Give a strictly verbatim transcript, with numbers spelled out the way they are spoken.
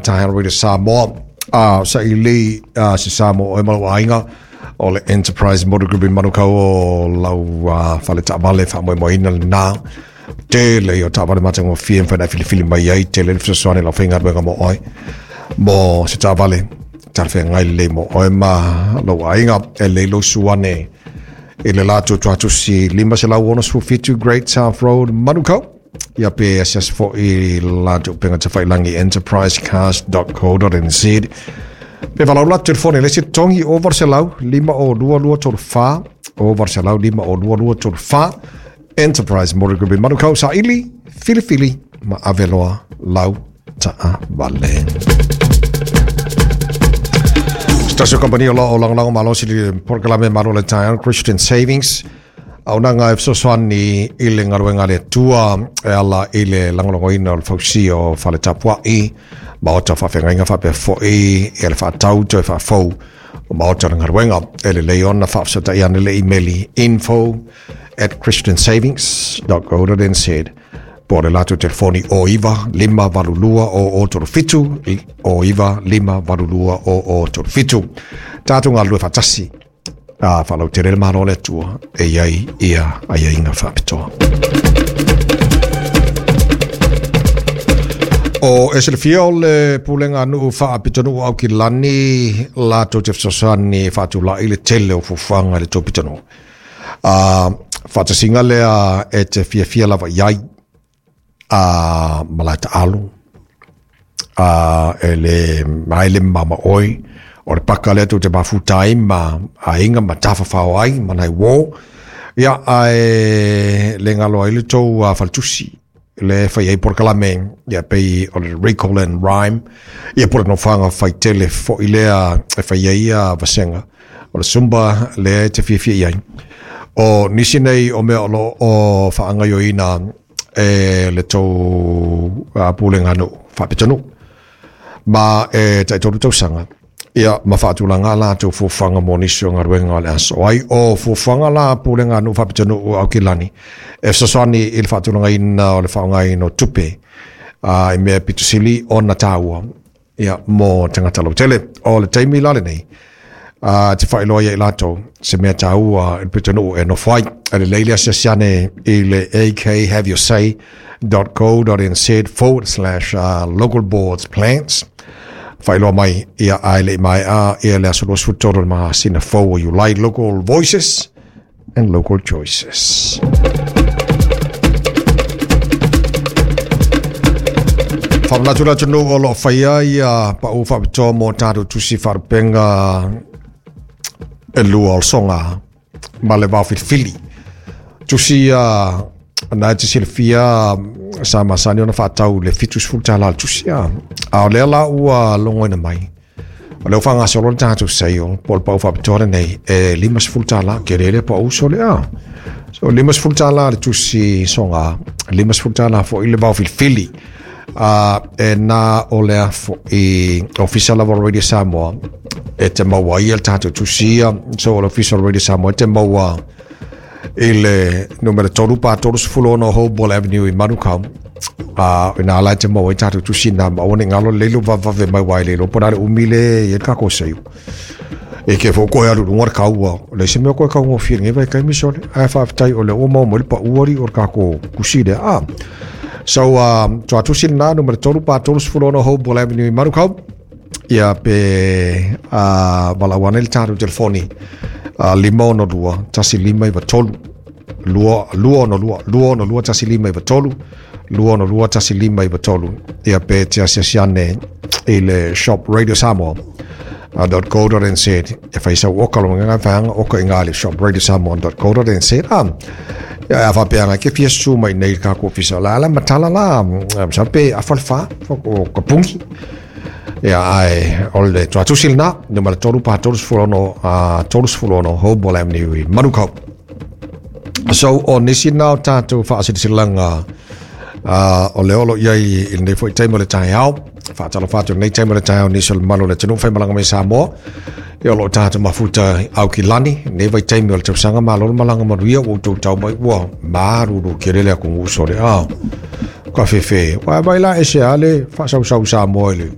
taeao Radio Samoa. A sa ili uh, se Samoa o e malo aiga o le Enterprise Motor Group i Manukau o lau uh, fale taavale faamoemoeina lenā tele o taavale matagofie mafai ona e filifili mai ai tele le fesoasoani lau faigaluega mo oe mo se taavale talafeagai lelei mo oe ma lou aiga e lelei lou suane i le latou tuatusi lima selau ono fitu Great South Road Manukau ia pe asiasi fo'i latou upega tafailagi enterprise cars dot co dot n z pe valaau latou telefone le isi togi o valu selau lima o lua lua tolu fa o valu selau lima o lua lua tolu fa Enterprise Motor Group i Manukau saili filifili ma aveloa lau taavale. Stasio Company o lo lagolago malosi le polokalame Malo le Taeao Christian Savings auaunaga e fesoasoani i le galuega a le Atua e ala i le lagolagoina o le fausia o fale tapua'i maota faafeagaiga faapea fo'i e le faatau toe faafou o maota o le galuega e lelei ona faafesota'i ane le imeli info at christian savings dot co dot n z po o le latou telefoni o iva lima valu lua o o tolu fitu o iva lima valu lua o o tolu fitu tatou galulue faatasi a faalautele le Malo o le Atua e iai ia aiaiga faapitoa. O e silafia o le pulega nuu faapitonuu Aukilani latou te fesoasoani faatula'i le tele o fuafuaga i le tou pitonuu. A faatasiga lea e te fiafia lava i ai a malae taalo a e le mai le mama oi o le paka lea tou te mafuta ai ma aiga ma tafafao ai ma nai uō ia ae le galo ai le tou uh, faletusi le fai ai polokalame ia pei o le recall and rhyme ia po le nofoaga faitele fo'i lea e fai ai ia vasega o le Zumba lea e te fiafia i ai. O nisi nei o mea o lo o faagaoioina e le tou uh, pulega nuu faapitonuu ma e taitolu tausaga ia ma faatulaga latou fuafuaga mo nisi o galuega o le aso ai o fuafuaga la pulega nuu faapitonuu Aukilani e fesoasoani i le faatulagaina o le faaaogaina o tupe uh, i mea pitosili ona tāua ia mo tagata lautele. O le taimi la lenei uh, te faailoa ia i latou se mea tāua i le pitonuu e nofo ai e lelei le asiasi ane i le a k have your say dot co dot n z forward slash uh, local boards plans faailoa mai ia ae le i maea ia le aso luasefulu tolu o le masina fou o Iulai. Local voices and local choices. Faamanatu le atunuu o loo faia ia pau faapitoa mo tatou tusi faalupega e lua o le soga ma le vaofilifili. Tusi ia na e te silafia sa masani ona faatau le fitu sefulu tālā le tusi a. A o lea la ua logoina mai. O lea ua faagasolo le tatou sale po o le pau faapitoa lenei e lima sefulu tālā kele lea pau sole a. So lima sefulu tālā le tusi soga, lima sefulu tālā fo'i le vaofilifili. Uh, e nā o lea fo'i ofisa lava o Radio Samoa e te maua ia le tatou tusi ia. So o le ofisa o Radio Samoa e te maua i le numera tolu pa tolu sefulu ono Hoball Avenue i Manukau. Uh, ina ala e te maua i tatou tusi nā ma aua ne galo lelei lo vavave mai uā i le iloa po o le a le umi le i ai le kākou seiu. E ke fo koe alu lunga le kaua. Le se mea koe kaugofie lenei vaitaimi sole. Ae faafetai o le ua maua mai le paua ali o le kākou kusi lea. Ah. So, um, tuatusi lenā numera tolu pa tolu sefulu ono Hoball Avenue i Manukau. Ia pe uh, valaau ane le tatou telefoni uh, lima ono lua tasi lima iva tolu lua lua ono lua lua ono lua tasi lima iva tolu lua ono lua tasi lima iva tolu ia pe te asiasi ane i le shop Radio Samoa dot co dot n z e fai sau oka lo nganga whanga oka inga le shop radio samoa dot co dot n z a ia a whapeanga ke fia su mai nei ka ko ofisa la ala matala la sa pe a falfa o ka pungi ia ai o le tuatusi lena numera tolu pa tolu sefulu ono a tolu sefulu ono Hoball Avenue i Manukau. So o nisi nā o tātou whaasilisilanga uh, o le olo iai i lenei fo'i taimi o le taeao faatalofa atu lenei taimi o le taeao nisi o le mamalu o le atunuu faimalaga mai Samoa ia o loo tatou mafuta Aukilani lenei vaitaimi o le tausaga malo le malaga manuia ua outou tau mai ua malulu kele le atunuu sole a ka fefe ua mai la e se a le faasausau Samoa i le